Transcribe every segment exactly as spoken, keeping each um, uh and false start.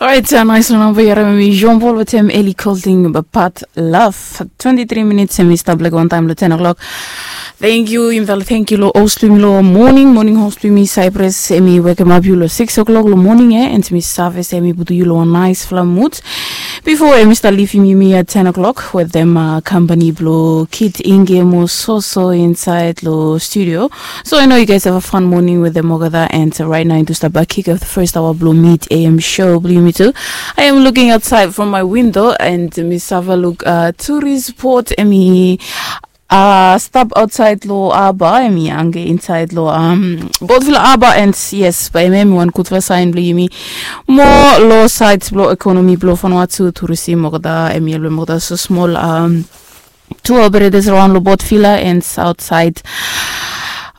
Orait, nais long namba yu harim em i Jean Paul wetem Eli Colding, But Love. Twenty-three minutes em i stap lek wantaim long ten o'clock. Thank you, yumi tala thank you lo host blong yumi lo morning, morning host blong yumi Cyprus, em i wekemap yu lo six o'clock lo morning, eh, and mi save se em i putum yu lo wan naispela mood. Before em i stap leavim yumi at ten o'clock wetem uh, company blo Kit Inge mo Soso inside lo studio. So I know you guys have a fun morning with them olgeta, and uh, right now into start back kick off the first hour blo mid A M show blo yumi tu. I am looking outside from my window and mi save luk uh, tourist port em i uh, stap outside lo harbor, em i ange inside lo um, both lo harbor, and yes, by em em one good for sign blo yumi. More low side blo economy blo Vanuatu tourism olgeta, em i lo olgeta so small um, two operators around lo both villa and outside.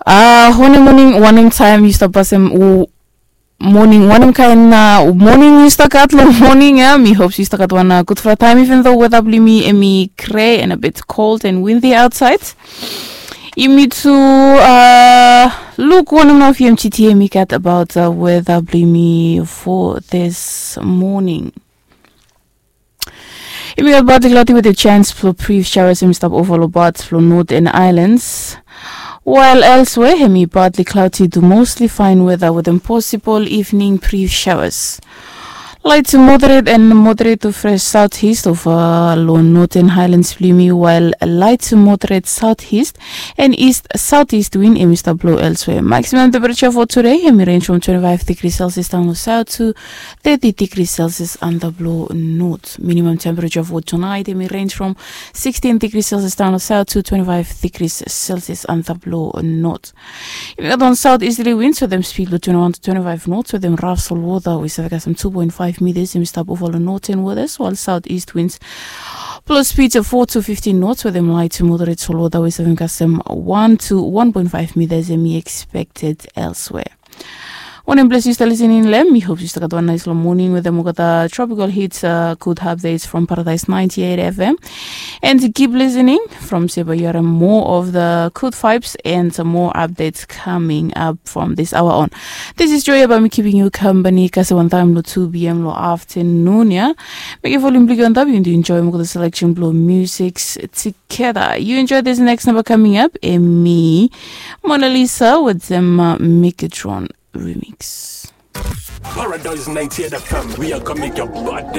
Uh, one morning, one time you stop us um, morning, wanem kaen uh, morning yu stap gat long morning ya. Mi hope yu stap gat wan uh, gudfala taem, even though weather blong yumi em i gray and a bit cold and windy outside. Yumi tu uh, luk wanem nao V M G T em i gat about uh, weather blong yumi for this morning. Yumi gat partly cloudy with a chance for brief showers em i stap ova lo parts blo northern islands. While elsewhere em i partly cloudy to mostly fine weather with a possible evening brief showers. Light to moderate and moderate to fresh southeast ova lo northern highlands blo yumi, while light to moderate southeast and east southeast wind em i stap blo elsewhere. Maximum temperature for today em i range from twenty-five degrees Celsius down lo south to thirty degrees Celsius under blo north. Minimum temperature for tonight em i range from sixteen degrees Celsius down lo south to twenty-five degrees Celsius under blo north. Yumi gat wan southeasterly winds wetem speed lo twenty-one to twenty-five knots wetem rough salt water we save kasem two point five meters em i stap ova lo northern waters, while southeast winds plus speed of four to fifteen knots wetem light to moderate salt water we save kasem one to one point five meters em i expected elsewhere. Wanem ples yu stap listening lo hem, mi hope yu stap gat wan nais long morning wetem olgeta tropical hits, uh, good updates from Paradise ninety-eight F M. And keep listening from se bae yu harim more of the good vibes and some more updates coming up from this hour on. This is Joya by me keeping you company kasem wantaem lo two P M lo afternoon ya. Mekem volume blo yu antap, yu enjoy olgeta selection blo music together. You enjoy this next number coming up, em i Mona Lisa wetem uh, Megatron remix. Paradise ninety-eight F M, we are coming your body.